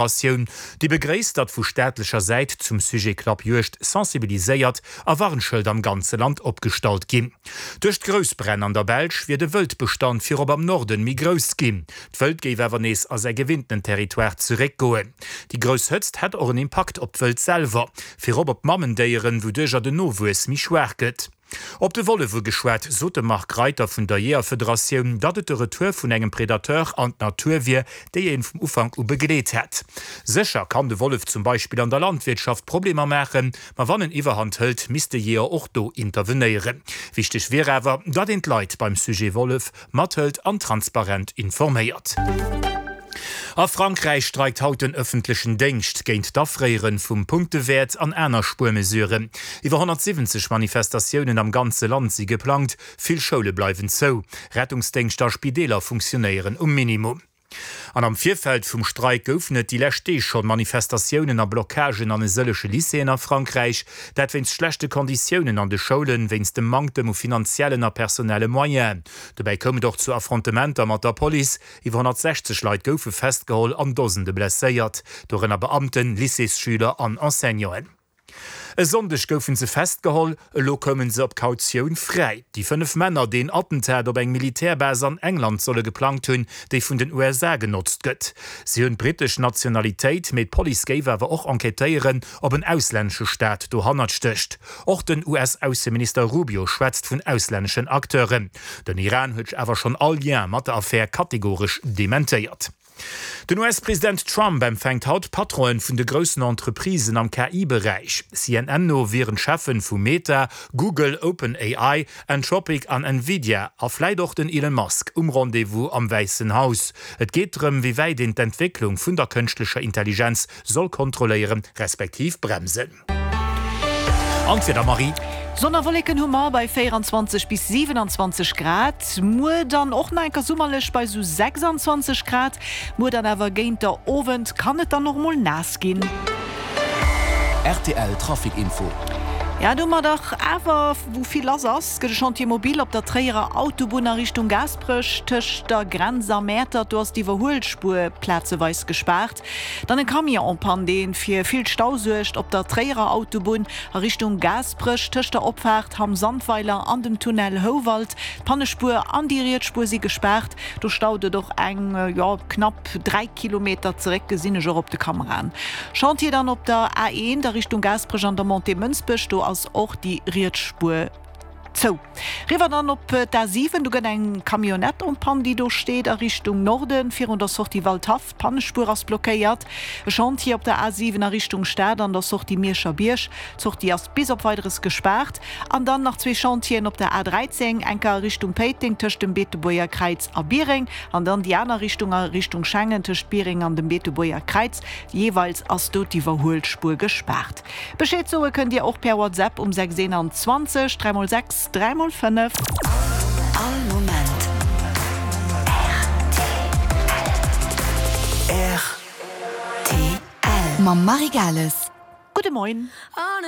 Atioun, déi begréisst, datt vu staatlecher Säit zum Sujet Klappjuegd sensibiliséiert a Warnschëld am ganze Land opgestallt ginn. Duerch d'Groussbränn an der Belsch wier de Wëldbestand virop am Norden méi grouss ginn. D'Wëld géif awer nees a säi gewinntenen Territoire zeréckgoen. Déi grouss Hëtzt hätt och en Impakt op d'Wëld selwer, virop op d'Mammendéieren, wouduercher den Nowuess méi schwaach gëtt. Op de Wollef ugeschwat, sot de Marc Reiter vun der Jeeërfederatioun, datt et de Retour vun engem Predateur an d'Natur wier, déi een vum Ufank u begleet hätt. Sécher kann de Wollef zum Beispill an der Landwirtschaft Problemer maachen, ma wann en Iwwerhand hëlt, misst de Jeeër och do intervenéieren. Wichteg wier awer, datt een d'Leit beim Sujet Wollef Mathëlt an transparent informéiert. A Frankräich streikt haut den ëffentlechen Déngscht géint d'Afréiere vum Punktewäert an aner Spuermesuren. Iwwer 170 Manifestatiounen am ganze Land si geplangt, vill Schoule bleiwen zou, Rettungsdéngschter a Spideeler funktionéieren um Minimum. An am Virfeld vum Streik goufen et déi lescht Deeg schonn Manifestatiounen a Blockagen an e sëllege Lycéeën a Frankräich. Dat wéinst schlechte Konditiounen an de Schoulen, wéinst dem Manktem u finanziellen a personelle Moyenen. Dobäi koum et och zu Affrontementer mat der Police. Iwwer 160 Leit goufe festgeholl an Dosende blesséiert, dorënner Beamten, Lycéesschüler an Enseignanten. E Sonndeg goufen se festgeholl, elo koumen se op Kautioun fräi. Déi 5 Männer, déi en Attentat op eng Militärbase an England solle geplangt hunn, déi vun den USA genotzt gëtt. Si hunn d'brittesch Nationalitéit, mee d'Police géif awer och enquêtéieren, ob en auslännesche Staat dohannert stécht. Och den US-Ausseminister Rubio schwätzt vun auslänneschen Acteuren. Den Iran huet awer schonn all Lien mat der Affär kategoresch dementéiert. Den US-President Trump empfänkt haut d'Patronen vun de groussen Entreprisen am KI-Beräich. CNN no wieren d'Cheffen vu Meta, Google, OpenAI, Anthropic an Nvidia a vläit och den Elon Musk um Rendez-vous am Wäissen Haus. Et geet drëm, wéi wäit een d'Entwécklung vun der kënschtlecher Intelligenz soll kontrolléieren, respektiv bremsen. An d'Wieder, Marie? Sonn a Wolleken hu mer bei 24 bis 27 Grad. Muer dann och nach enker summerlech bei sou 26 Grad. Muer dann awer géint der Owend kann et dann och mol naass ginn. Rtl Trafic Info. Ja, do hu mer dach awer wou vill lass ass. Gëtt e Chantier mobile op der Tréierer Autobunn a Richtung Gaasperech tëscht der Grenz a Mäertert. Do ass d'Iwwerhuelspuer plazeweis gespaart. Dann e Camion en panne, dee fir vill Stau suergt op der Tréierer Autobunn a Richtung Gaasperech, tëscht der Opfaart Hamm-Sandweiler an dem Tunnel Houwald. D'Pannespuer an déi riets Spuer si gespaart. Do staut et och eng, jo, knapp 3 Kilometer zeréck, gesinn ech och op de Kameraen. Chantier dann op der A1 a Richtung Gaasperech an der Montée Mënsbech, do ass och déi riets Spuer zou. Riwwer dann op d'A7, do gëtt eng Camionnette en panne, déi do steet, a Richtung Norden, virun der Sortie Waldhaff. D'Pannespuer ass blockéiert. E Chantier op der A7 a Richtung Stad an der Sortie Mierscher Bierg. D'Sortie ass bis op Weideres gespaart. An dann nach zwee Chantieren op der A13, enker a Richtung Péiteng tëscht dem Beetebuerger Kräiz a Biereng an dann déi aner Richtung a Richtung Schengen tëscht Biereng an dem Beetebuerger Kräiz. Jeeweils ass do d'Iwwerhuelspuer gespaart. Bescheed soe kënnt Dir och per WhatsApp um 6 21 3 x 6 3 x 5. All Moment rtl. Mam Marie Gales. Gudde Moien.